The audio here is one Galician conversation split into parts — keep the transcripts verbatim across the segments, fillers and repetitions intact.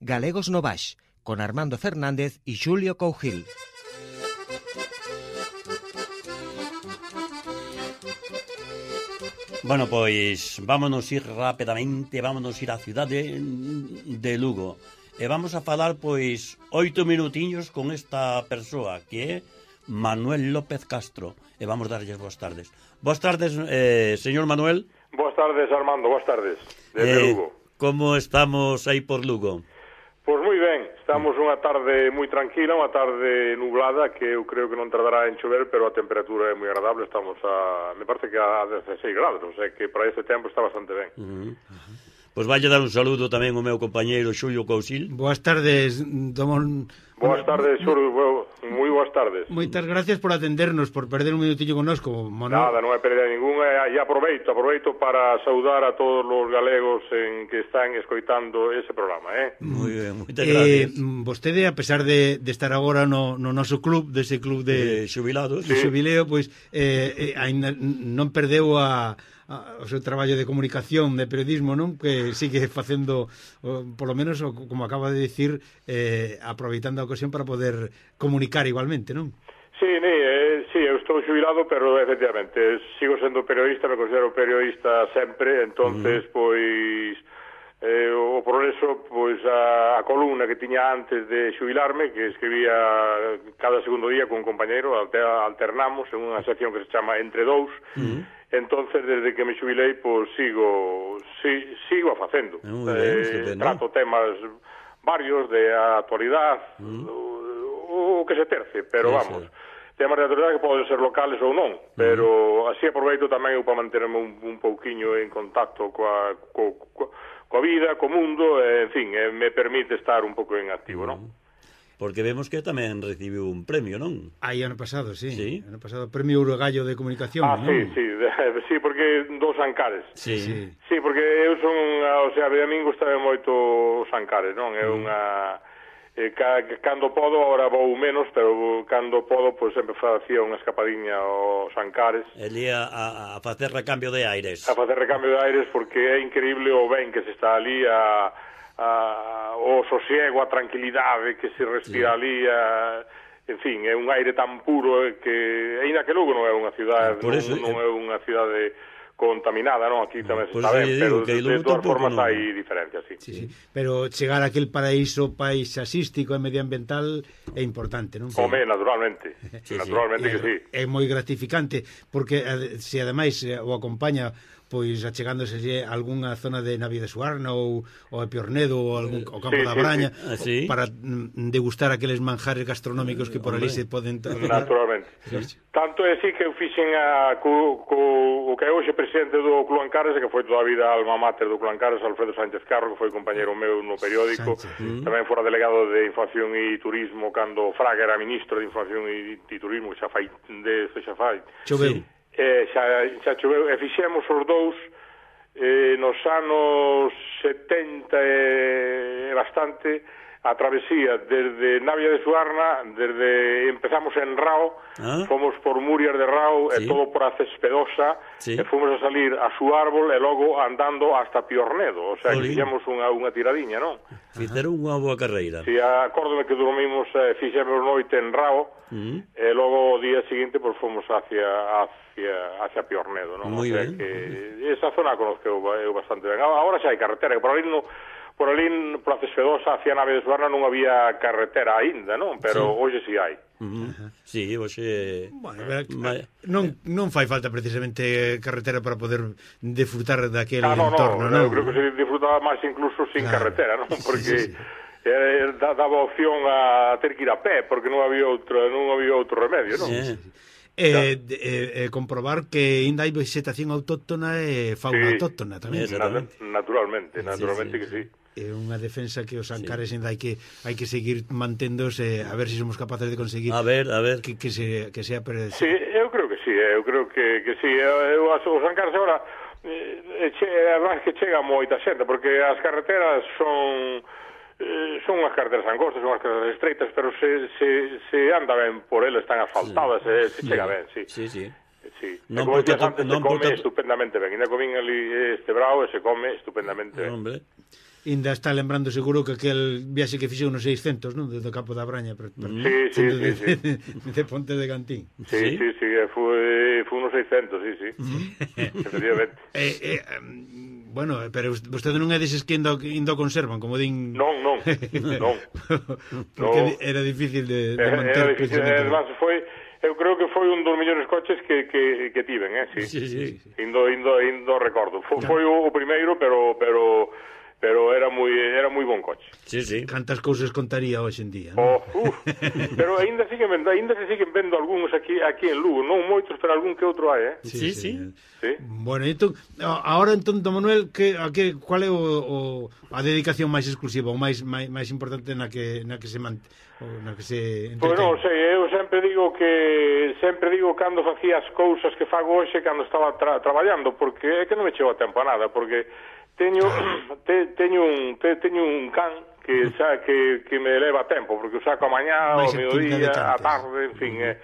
Galegos no Baix, con Armando Fernández e Xulio Cougil. Bueno, pois vámonos ir rapidamente, vámonos ir á cidade de Lugo. E vamos a falar, pois, oito minutiños con esta persoa, que é Manuel López Castro. E vamos darlles boas tardes. Boas tardes, eh, señor Manuel. Boas tardes, Armando, boas tardes, desde eh, Lugo. Como estamos aí por Lugo? Pois moi ben, estamos unha tarde moi tranquila, unha tarde nublada, que eu creo que non tardará en chover, pero a temperatura é moi agradable, estamos a, me parece que a dezasseis grados, o sea que para ese tempo está bastante ben. Uh -huh. Uh -huh. Pois vai dar un saludo tamén ao meu compañeiro Xulio Cousil. Boas tardes, Domón. Boas tardes, Xulio, moi boas tardes. Moitas gracias por atendernos, por perder un minutillo connosco, Manuel. Nada, non é perder ninguna, e aproveito, aproveito para saudar a todos os galegos en que están escoitando ese programa, eh? Moi ben, moitas gracias. Eh, vostede, a pesar de, de estar agora no, no noso club, dese club de, de xubilados, de xubileo, pois eh, eh, ainda non perdeu a o seu traballo de comunicación, de periodismo, non? Que sigue facendo, por lo menos, como acaba de dicir, eh, aproveitando a ocasión para poder comunicar igualmente, non? Sí, ni, eh, sí, eu estou xubilado, pero efectivamente sigo sendo periodista, me considero periodista sempre, entonces, mm. pois eh, o progreso, pois a, a columna que tiña antes de xubilarme, que escribía cada segundo día con un compañeiro, alternamos en unha sección que se chama Entre Dous, mm. Entonces, desde que me xubilei, pois sigo si, sigo a facendo. Eh, trato temas varios de actualidade, mm. o, o que se terce, pero sí, vamos, sí. temas de actualidade que poden ser locales ou non, pero mm. así aproveito tamén eu para manterme un, un pouquiño en contacto coa, co, co, coa vida, co mundo, e, en fin, eh, me permite estar un pouco en activo, mm. non? Porque vemos que tamén recibiu un premio, non? Aí ano pasado, sí. Sí. Ano pasado, premio Urugallo de Comunicación, ah, non? sí, sí, sí, porque dos Ancares. Sí. Sí, sí porque eu son, o sea, a mí gustame moito os Ancares, non? É unha... Eh, ca, cando podo, agora vou menos, pero cando podo, pois sempre facía unha escapadiña aos Ancares. Elí a, a, a facer recambio de aires. A facer recambio de aires, porque é increíble o ben que se está ali a... A, o sosiego, a tranquilidade que se respira sí. ali, a, en fin, é un aire tan puro que, aínda que Lugo non é unha cidade, non, eso, non é unha cidade contaminada, non? Aquí tamén se está ben, pero de, de todas formas non. Hai diferencias, sí. Sí, sí. Pero chegar a aquel paraíso paisaxístico e medioambiental é importante, non? Home, naturalmente, sí, naturalmente sí. que sí. É moi gratificante, porque se ademais o acompaña pois achegándose a algunha zona de Navia de Suarna ou, ou a Piornedo ou algún, o Campo sí, da sí, Braña sí. para degustar aqueles manjares gastronómicos que por ali se poden... Naturalmente. Sí. Tanto é así que eu fixen a, co, co, o que é hoxe presidente do Club Ancares, que foi toda a vida alma mater do Club Ancares, Alfredo Sánchez Carro, que foi compañeiro meu no periódico, Sánchez. Tamén fora delegado de Información e Turismo cando Fraga era ministro de Información e, e Turismo, xa fai de xa fai. Choveu. Sí. Eh, xa, xa choveu, e fixemos os dous eh, nos anos setenta e bastante a travesía desde Navia de Suarna, desde empezamos en Rao, ah. fomos por Murias de Rao sí. e todo por a Cespedosa, sí. e fomos a salir a su árbol e logo andando hasta Piornedo, o sea, que fixemos unha, unha tiradiña, non? Fixeron unha boa carreira. Si, sí, acórdome que dormimos, eh, fixemos noite en Rao, uh -huh. e logo o día seguinte pues, fomos hacia, hacia, hacia Piornedo, non? Moi o sea, ben. Que esa zona conozco eu, eu bastante ben. Agora xa hai carretera, que por ali no... Por ali, por a Cespedosa, hacia Nave de Suarna, non había carretera aínda, non? Pero sí. hoxe si hai. Uh -huh. Sí, hoxe... Bueno, Ma... non, non fai falta precisamente carretera para poder disfrutar daquele ah, no, entorno, non? No, eu creo que se disfrutaba máis incluso sin claro. carretera, non? Porque sí, sí, sí. Eh, daba opción a ter que ir a pé, porque non había outro, non había outro remedio, non? Sí, sí, sí. Eh, eh, eh, comprobar que ainda hai vegetación autóctona e fauna sí, autóctona tamén. Naturalmente, naturalmente sí, sí, que sí. É unha defensa que os Ancares ainda hai que hai que seguir manténdose, a ver se si somos capaces de conseguir. A ver, a ver que, que se que sea per... Sí, eu creo que sí, eu creo que que sí, eu os Ancares agora eh, che, además que chega moita xente porque as carreteras son Eh, son unhas carreteras angostas, son unhas carreteras estreitas, pero se, se, se anda ben por elas, están asfaltadas, sí. se, se chega ben, sí. Sí, sí. Sí. Non como decías antes, se come porta... estupendamente ben. Ainda comín ali este brao e se come estupendamente ben. Hombre. Ainda está lembrando seguro que aquel viaxe que fixeu nos seiscentos, non? Desde o Campo da Braña. Pero, pero, sí, sí, de, sí, de, de, de Ponte de Cantín. Sí, sí, sí, sí foi, foi unos seiscentos, sí, sí. Efectivamente. Eh, eh, bueno, pero vostede non é deses que indo, indo conservan, como din... Non, non, non. Porque no. era difícil de, de Era, manter... era difícil, además foi... Eu creo que foi un dos mellores coches que, que, que tiven, eh, sí. Sí, sí. Indo, indo, indo recordo. Foi, foi o, o primeiro, pero... pero pero era moi era moi bon coche. Sí, sí. Cantas cousas contaría hoxe en día, Oh, non? uf. Pero aínda siguen vendo, aínda se siguen vendo algúns aquí aquí en Lugo, non moitos, pero algún que outro hai, eh. Sí, sí. Sí. Bueno, entón, agora entón, Don Manuel, que, a que, cual é o, o, a dedicación máis exclusiva, ou máis, máis, máis importante na que, na que se mant, ou na que se entretén? Pois non sei, eu sempre digo que sempre digo cando facía as cousas que fago hoxe cando estaba tra traballando, porque é que non me chego a tempo a nada, porque teño te, teño un te, teño un can que xa que que me leva tempo, porque o saco a mañá, ao mediodía, a tarde, en fin, uh -huh. eh.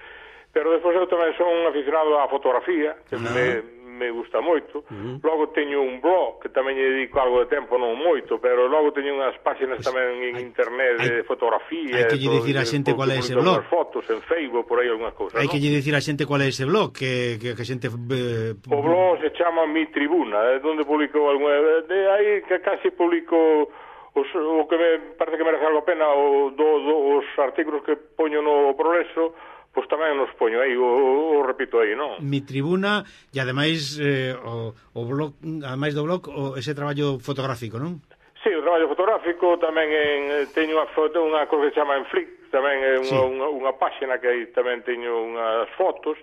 Pero despois eu tamén son aficionado á fotografía, que uh -huh. me me gusta moito. Uh -huh. Logo teño un blog que tamén lle dedico algo de tempo, non moito, pero logo teño unhas páxinas pues, tamén en hai, internet de hai, fotografía. Hai que lle dicir a xente cual é ese blog. Fotos en Facebook, por aí algunhas cousas. Hai ¿no? que lle dicir a xente cual é ese blog, que que, que a xente eh, o blog se chama Mi Tribuna, é onde publico algunha de aí que casi publico os, o que me parece que merece algo a pena o, do, do, os artículos que poño no Progreso. Pois tamén nos poño aí, o, o repito aí, non? Mi Tribuna, e ademais eh, o, o blog, ademais do blog, o, ese traballo fotográfico, non? Sí, o traballo fotográfico, tamén en, teño unha foto, unha cosa que se chama en Flick, tamén é unha, sí. unha, unha páxina que aí tamén teño unhas fotos,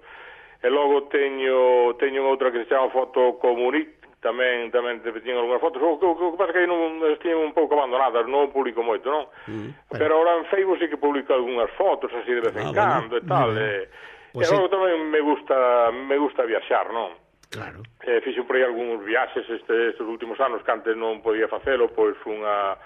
e logo teño teño outra que se chama Foto Comunit, tamén tamén teño algunhas fotos, o que, o que pasa que aí non estiñen un pouco abandonadas, non publico moito, non? Mm, bueno. Pero ahora en Facebook sí que publico algunhas fotos así de vez en ah, cando bueno. e tal, e, pues e logo sí. tamén me gusta me gusta viaxar, non? Claro. Eh, fixo por aí algúns viaxes este, estes últimos anos que antes non podía facelo, pois fun a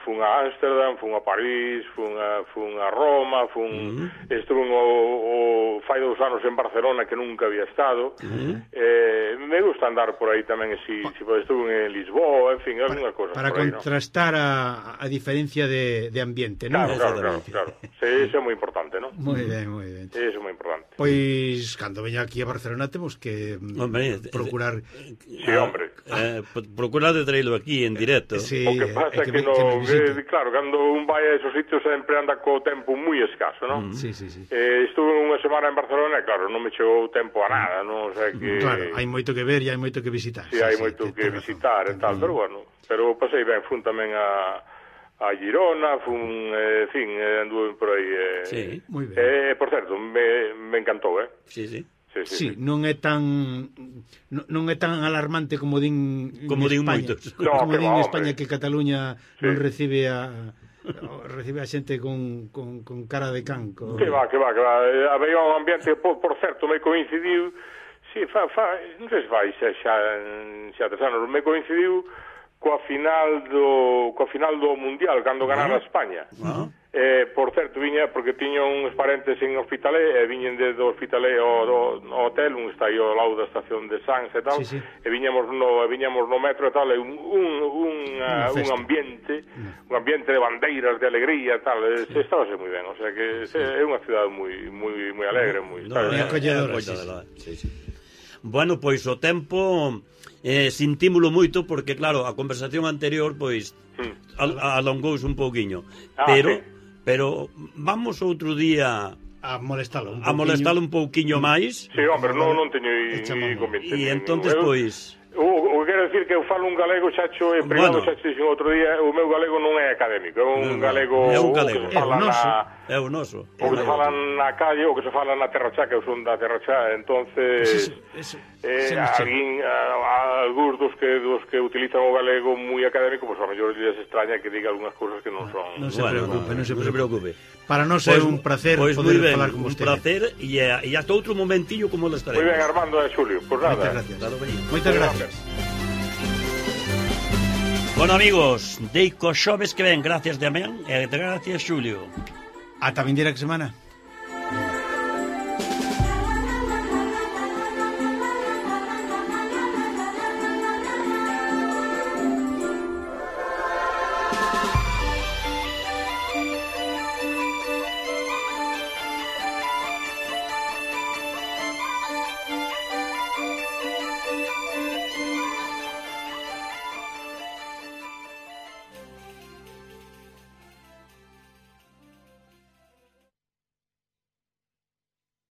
fun a Ámsterdam, fun a París, fun a, fun a Roma, fun, uh-huh. estuve o, o fai dous anos en Barcelona que nunca había estado. Uh-huh. eh, me gusta andar por aí tamén, si, si estuve en Lisboa, en fin, algunha cosa. Para por aí, contrastar ¿no? a, a diferencia de, de ambiente, non? Claro, claro, claro, claro. Sí, eso é moi importante, non? Moi ben, moi ben. Eso é moi importante. Pois, cando veña aquí a Barcelona temos que hombre, procurar... Sí, hombre. Eh, procurar de traerlo aquí en directo. Sí, o que pasa é que, que, no, que, que claro, cando un vai a esos sitios sempre anda co tempo moi escaso, non? Mm. Sí, sí, sí. Eh, estuve unha semana en Barcelona e claro, non me chegou tempo a nada, non? O sea que... Claro, hai moito que ver e hai moito que visitar. Sí, sí hai sí, moito que, que visitar e tal, pero bueno, pero pasei ben, fun tamén a a Girona, fun, eh, en fin, eh, anduve por aí. Eh, sí, moi ben. Eh, por certo, me, me encantou, eh? Sí, sí. Sí, sí, sí, sí, non é tan non, non é tan alarmante como din como din España, moitos. No, como din en España que Cataluña sí. non recibe a recibe a xente con, con, con cara de can. Con... Que va, que va, que va. Había un ambiente, por, por certo, me coincidiu, sí, fa, fa, non sei se vai xa, xa, xa tres anos, me coincidiu coa final do coa final do Mundial, cando ganara España. Uh -huh. Eh, por certo, viña, porque tiña uns parentes en Hospitalet, e viñen de do Hospitalet ao, do, ao hotel, un está aí ao lado da estación de Sanz e tal, sí, sí. e viñamos no, viñamos no metro e tal, e un, un, un, uh, un ambiente, un ambiente de bandeiras, de alegría e tal, sí. Estaba moi ben, o sea que sí. É unha cidade moi moi moi alegre, moi no, no, acolledora. Sí, sí. Sí, sí. Bueno, pois o tempo eh, sentímolo moito porque claro, a conversación anterior pois mm. al, alongouse un pouquiño, ah, pero sí. Pero vamos outro día a molestalo un a molestalo un pouquiño máis. Sí, hombre, non non teño inconveniente. E entonces pois O, o que quero decir que eu falo un galego, xacho, en privado, bueno. Xacho, dixen outro día, o meu galego non é académico, é un galego... É un galego, o que se fala é o noso, na, é o noso. O que se fala na calle, o que se fala na Terra Chá, que eu son da Terra Chá, entonces... Pues eso, eso, eh, alguén, a, a, algúns dos que, dos que utilizan o galego moi académico, pois pues, a mellor les extraña que diga algunhas cousas que non son... Non se bueno, preocupe, non se preocupe. Para nós é pues, un placer pues poder ben, falar con vostede. Un placer, e, e hasta outro momentillo como le estaremos. Moi ben, Armando e Xulio, pois pues nada. Moitas gracias. Moitas gracias. Bueno, amigos, deico xoves que ven, gracias Damián e gracias Xulio. Ata vindeira que semana.